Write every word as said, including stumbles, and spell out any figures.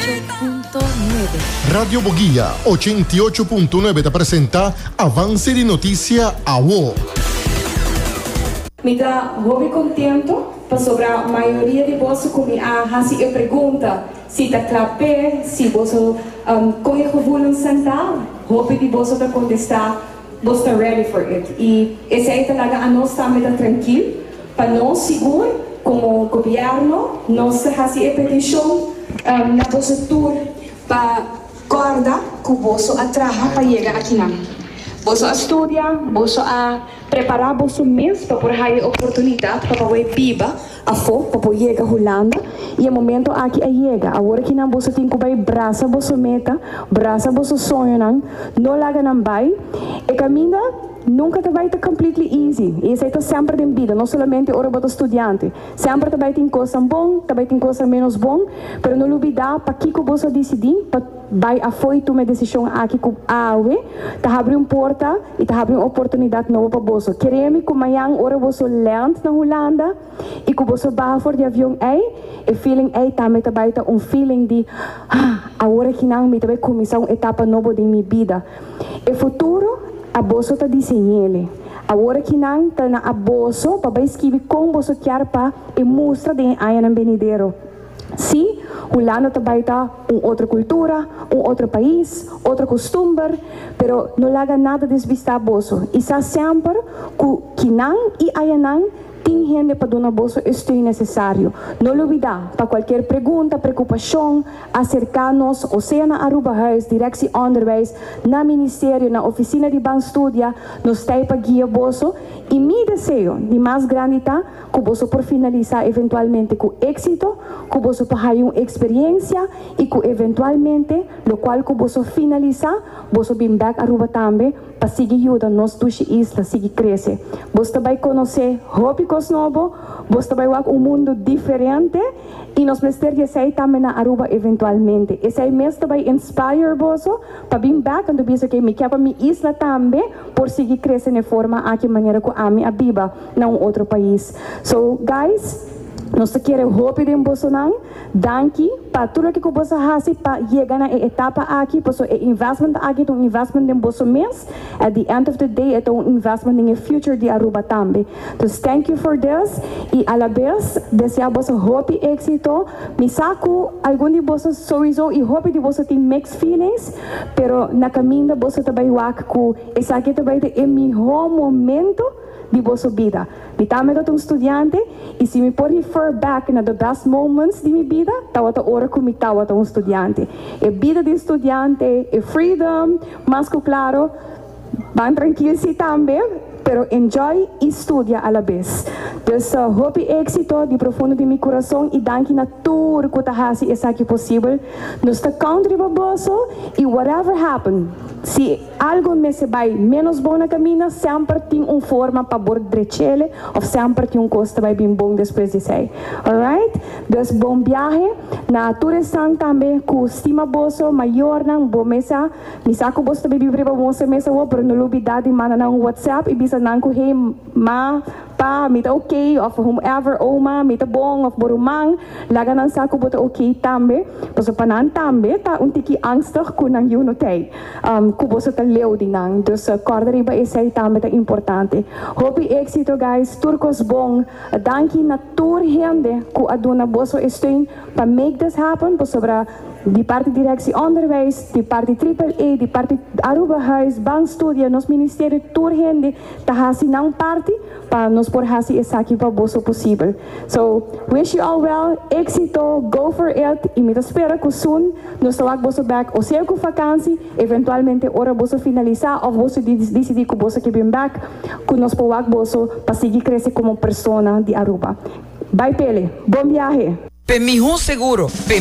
ocho punto nuebe. Radio Boguia ochenta i ocho punto nuebe ta presenta Avance di Noticia Awo. Mi ta hopi contento pasobra mayoria di boso cu mi a hasi e pregunta si ta cla p'e, si boso um, con e gevoelens ta, hopi di boso ta contesta boso ta ready for it. Y esey ta laga anos tambe ta trankil, pa nos sigur como gobierno, nos ta hasi e peticion um, na boso tur pa corda cu boso a traha pa yega akinan. Boso a studia, boso a prepara boso mes pa por haya oportunidad pa por biba afo, pa por yega Hulanda y e momento aki a yega. Awor akinan boso tin cu bay brasa boso meta, brasa boso soñonan, no laga nan bay. E caminda nunca ta bay ta completely easy. Y esey ta semper den bida, no solamente ora bo ta studiante. Semper ta bay tin cos bon, ta bay tin cos menos bon, pero no lubida pakico boso a dicidi pa bay afo y tuma e decision aki cu awe, ta habri un porta y ta habri un oportunidad nobo pa boso. Kere mi cu mañan ora boso land na Hulanda y cu boso baha for di avion ey, e feeling ey tambe ta bay ta un feeling di "Ah, awor akinan mi ta bay cuminsa un etapa nobo di mi bida." E futuro abo so ta diseñ'e. Awor akinan ta na abo so pa bay skirbi con boso kier pa e mustra den añanan venidero. Si, Hulanda ta bay ta un otro cultura, un otro pais, otro custumber, pero no laga nada desvista boso. Y sa semper cu akinan y ayanan tin hende pa duna boso e steun necesario. No lubida, pa cualkier pregunta, preocupacion, acerca nos, o sea na Aruba Huis, Directie Onderwijs, na Ministerio, na Oficina di Ban Studia, nos ta pa guia boso. Y mi deseo di mas grandi ta cu boso por finalisa eventualmente cu exito, cu boso por haya un experiencia y cu eventualmente, locual cu boso finalisa, boso bin back Aruba tambe, pa sigui yuda nos dushi isla sigui crece. Boso ta bay conoce hopi cos nobo, boso ta bay wak un mundo diferente y nos mester di esey tambe na Aruba eventualmente. Esey mes ta bay inspire boso pa bin back anto bisa cu mi kier pa mi isla tambe por sigui crece na forma aki manera cu ami a biba na un otro pais. So guys, nos kier hopi den bosonan. Danki pa tur loke boso a hasi pa yega na e etapa aki, paso e investment aki ta un investment den boso mes. At the end of the day, e ta un investment den e future di Aruba tambe. So thank you for this y a la vez desea boso hopi exito. Mi sa cu algun di boso sowieso y hopi di boso tin mixed feelings, pero na caminda boso ta bay wak cu esaki ta bay ta e miho momento di boso bida. Mi tambe ta un studiante y si mi por refer back na the best moments di mi bida, tawata ora cu mi tawata un studiante. E bida di studiante, e freedom, mas cu claro, ban trankil si tambe, pero enjoy y studia a la vez. Dus uh, hopi exito di profundo di mi curason y danki na tur cu ta hasi esaki posibel. Nos ta count riba boso y whatever happen, si algo mester bay menos bon na caminda, semper tin un forma pa por drech'e of semper tin un cos bay bin bon despues di esey. Alright? Dus bon biahe. Na tur esnan tambe cu stima boso, mayornan, bo mes sa, mi sa cu boso tambe biba boso mes o, pero no lubida di manda nan WhatsApp y bisa nan cu "Hey ma, pa, mi ta okay," of whomever, "Oma, mi ta bon," of bo ruman, laga nan sa cu bo ta okay tambe, paso pa nan tambe ta un tiki angstig cu nan yiu no tey, um, cu boso ta leu di nan. Dus uh, corda riba esey tambe ta importante. Hopi exito, guys, tur cos bon. Danki na tur hende cu a duna boso steun pa make this happen, pasobra di parti Directie Onderwijs, di parti Triple A, di parti Aruba Huis, Ban Studia, nos ministerio, tur hende ta hasi nan parti pa nos por hasi esaki pa boso posibel. So, wish you all well, exito, go for it, y mi ta spera cu soon nos ta wak boso back, o sea cu vakantie, eventualmente ora boso finalisa, of boso dicidi cu boso kier bin back, cu nos por wak boso pa sigui crece como persona di Aruba. Bye pele, bon biahe! Pe miho seguro. Pe